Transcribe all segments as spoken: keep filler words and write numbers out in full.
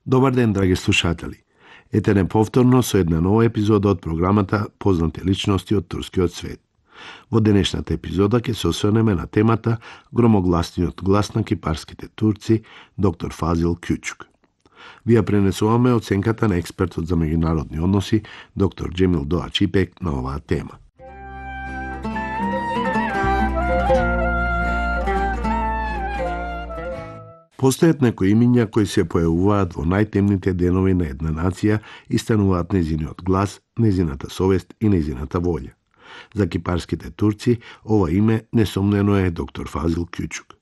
Добар ден, драги слушатели. Ете неповторно со една нова епизода од програмата Познати личности од турскиот свет. Во денешната епизода ќе се осврнеме на темата громогласниот глас на кипарските турци, доктор Фазил Кючук. Ви ја пренесуваме оценката на експертот за меѓународни односи, доктор Джемил Доач Ипек, на оваа тема. Постојат некои имиња кои се појавуваат во најтемните денови на една нација и стануваат незиниот глас, незината совест и незината волја. За кипарските турци ова име несомнено е доктор Фазил Кючук.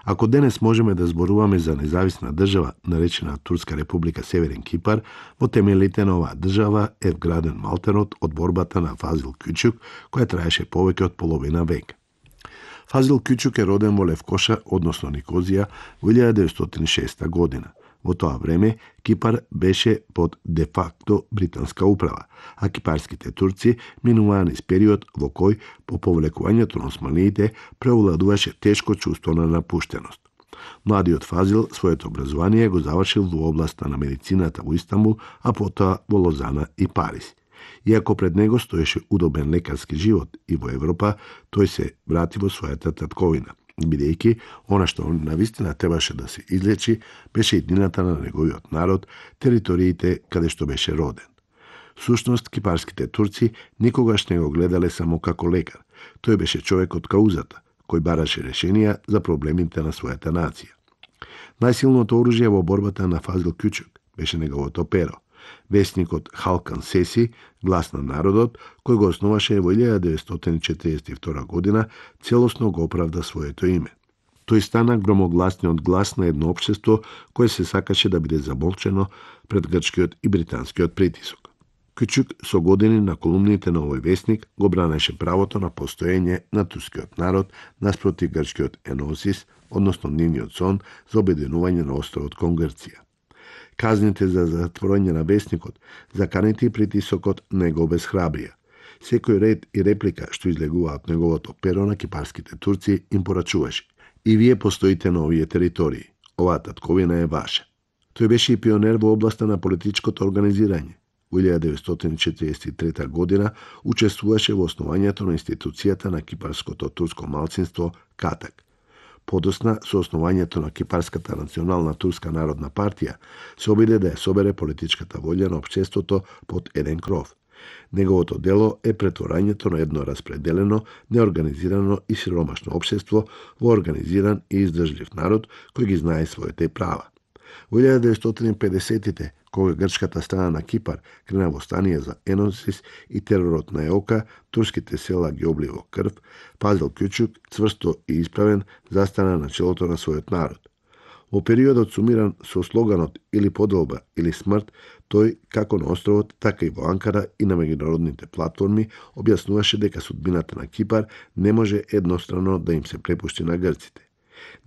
Ако денес можеме да зборуваме за независна држава, наречена Турска република Северен Кипар, во темелите на оваа држава е вграден малтерот од борбата на Фазил Кючук, која траеше повеќе од половина век. Фазил Кючук е роден во Левкоша, односно Никозија, во илјада деветстотини и шеста година. Во тоа време Кипар беше под де-факто британска управа, а кипарските турци минуваа низ период во кој по повлекувањето на османиите преовладуваше тешко чувство на напуштеност. Младиот Фазил своето образование го завршил во областа на медицината во Истанбул, а потоа во Лозана и Париз. Иако пред него стоеше удобен лекарски живот и во Европа, тој се врати во својата татковина, бидејќи она што навистина требаше да се излечи беше иднината на неговиот народ, териториите каде што беше роден. Всушност, кипарските турци никогаш не го гледале само како лекар. Тој беше човек од каузата, кој бараше решенија за проблемите на својата нација. Најсилното оружје во борбата на Фазил Кючук беше неговото перо. Весникот Халкан Сеси, глас на народот, кој го основаше во илјада деветстотини четириесет и втора година, целосно го оправда своето име. Тој стана громогласниот глас на едно општество кое се сакаше да биде замолчено пред грчкиот и британскиот притисок. Кючук со години на колумните на овој весник го бранеше правото на постоење на турскиот народ наспроти грчкиот еносис, односно нивниот сон за обединување на островот кон Грција. Казните за затворање на весникот, заканите и притисокот не го обесхрабрија. Секој ред и реплика што излегува од неговото перо на кипарските турци им порачуваше: и вие постоите на овие територии. Оваа татковина е ваша. Тој беше и пионер во областа на политичкото организирање. Во илјада деветстотини четириесет и трета година учествуваше во основањето на институцијата на кипарското турско малцинство Катак. Подосна, со основањето на Кипарската национална турска народна партија, се обиде да ја собере политичката волја на општеството под еден кров. Неговото дело е претворањето на едно распределено, неорганизирано и сиромашно општество во организиран и издржлив народ кој ги знае своите права. Во илјада деветстотини и педесетите, кога грчката страна на Кипар крена восстание за еносис и теророт на Еока, турските села ги обли во крв, Фазил Кючук, цврсто и исправен, застана на челото на својот народ. Во периодот сумиран со слоганот или поделба или смрт, тој, како на островот, така и во Анкара и на меѓународните платформи, објаснуваше дека судбината на Кипар не може еднострано да им се препушти на грците.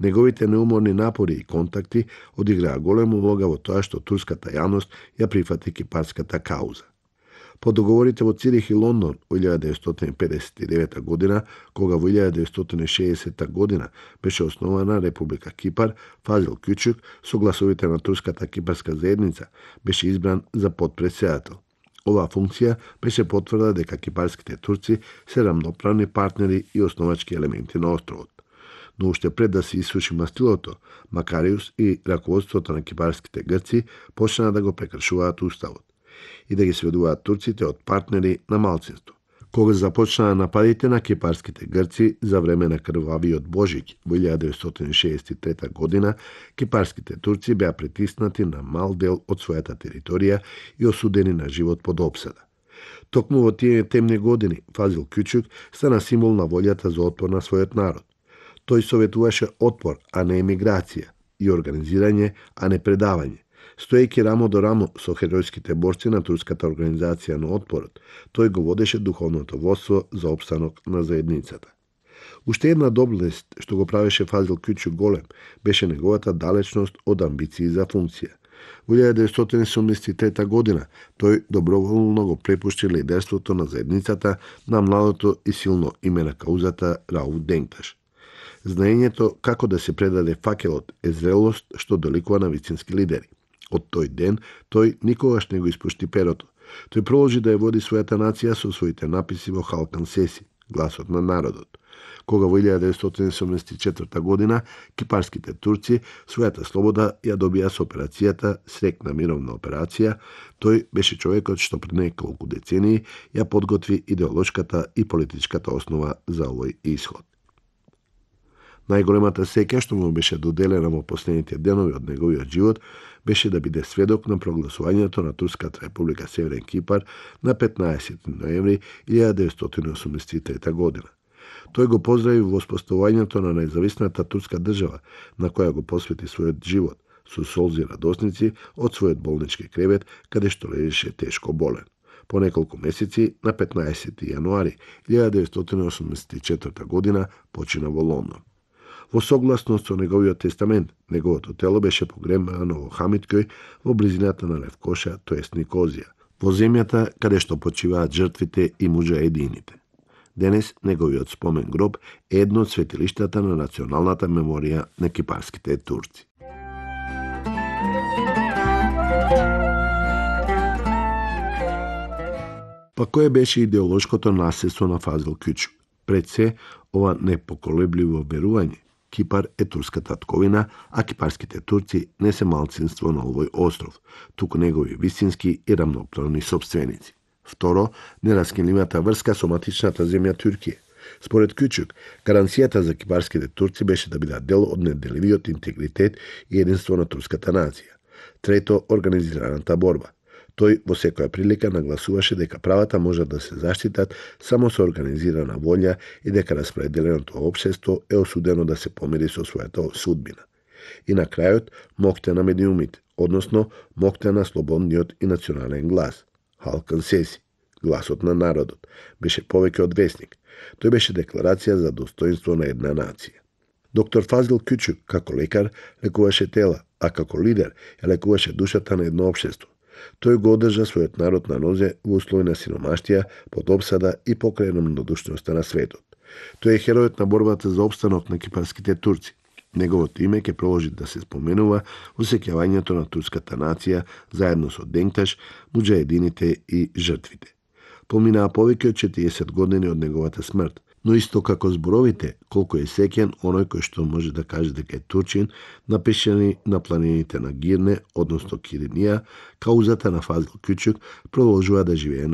Неговите неуморни напори и контакти одиграа голема улога во тоа што турската јавност ја прифати кипарската кауза. По договорите во Цирих и Лондон во илјада деветстотини педесет и девета година, кога во илјада деветстотини и шеесета година беше основана Република Кипар, Фазил Кючук со гласовите на турската кипарска заедница беше избран за потпредседател. Оваа функција беше потврда дека кипарските турци се рамноправни партнери и основачки елементи на островот. Но уште пред да се исуши мастилото, Макариус и раководството на кипарските грци почнаа да го прекршуваат уставот и да ги сведуваат турците од партнери на малцинство. Кога започнаа нападите на кипарските грци за време на крвавиот Божиќ во илјада деветстотини шеесет и трета година, кипарските турци беа притиснати на мал дел од својата територија и осудени на живот под опсада. Токму во тие темни години Фазил Кючук стана символ на волјата за отпор на својот народ. Тој советуваше отпор, а не емиграција, и организирање, а не предавање. Стоејќи рамо до рамо со херојските борци на турската организација на отпорот, тој го водеше духовното водство за опстанок на заедницата. Уште една доблест што го правеше Фазил Кючук голем беше неговата далечност од амбиции за функција. Во илјада деветстотини седумдесет и трета година тој доброволно го препушти лидерството на заедницата на младото и силно име на каузата Рауф Денкташ. Знаењето како да се предаде факелот е зрелост што доликува на вистински лидери. Од тој ден, тој никогаш не го испушти перото. Тој продолжи да ја води својата нација со своите написи во Халкан Сеси, гласот на народот. Кога во илјада деветстотини седумдесет и четврта година кипарските турци својата слобода ја добија со операцијата Срекна мировна операција, тој беше човекот што пред неколку децении ја подготви идеолошката и политичката основа за овој исход. Најголемата сеќа што му беше доделена во последните денови од неговиот живот беше да биде сведок на прогласувањето на Турската република Северен Кипар на петнаесети ноември илјада деветстотини осумдесет и трета година. Тој го поздрави во воспоставувањето на независната турска држава, на која го посвети својот живот, со солзи радосници од својот болнички кревет, каде што лежеше тешко болен. По неколку месеци, на петнаесети јануари илјада деветстотини осумдесет и четврта година, почина во Лондон. Во согласност со неговиот тестамент, неговото тело беше погребано во Хамидкој во близината на Левкоша, тоест Никозија, во земјата каде што почиваат жртвите и муџаедините. Денес неговиот спомен гроб е едно од светилиштата на националната меморија на кипарските турци. Па кој беше идеолошкото наследство на Фазил Кючук? Пред се, ова непоколебливо верување. Кипар е турска татковина, а кипарските турци не се малцинство на овој остров, туку негови вистински и рамноправни собственици. Второ, нераскинливата врска со матичната земја Туркија. Според Кючук, гаранцијата за кипарските турци беше да бидат дел од неделивиот интегритет и единство на турската нација. Трето, организираната борба. Тој во секоја прилика нагласуваше дека правата можат да се заштитат само со организирана волја и дека распределеното општество е осудено да се помири со својата судбина. И на крајот, моќта на медиумите, односно моќта на слободниот и национален глас. Халкан Сеси, гласот на народот, беше повеќе од весник. Тој беше декларација за достоинство на една нација. Доктор Фазил Кючук, како лекар, лекуваше тела, а како лидер ја лекуваше душата на едно општество. Тој го одржа својот народ на нозе во услови на сиромаштија, под обсада и покрај рамнодушноста на светот. Тој е херојот на борбата за опстанок на кипарските турци. Неговото име ќе продолжи да се споменува во сеќавањето на турската нација заедно со Денкташ, муџаедините и жртвите. Поминаа повеќе од четириесет години од неговата смрт, но исто како зборовите, колку е сеќен оној кој што може да каже дека е турчин, напишани на планините на Гирне, односно Киринија, каузата на Фазил Кючук продолжува да живее на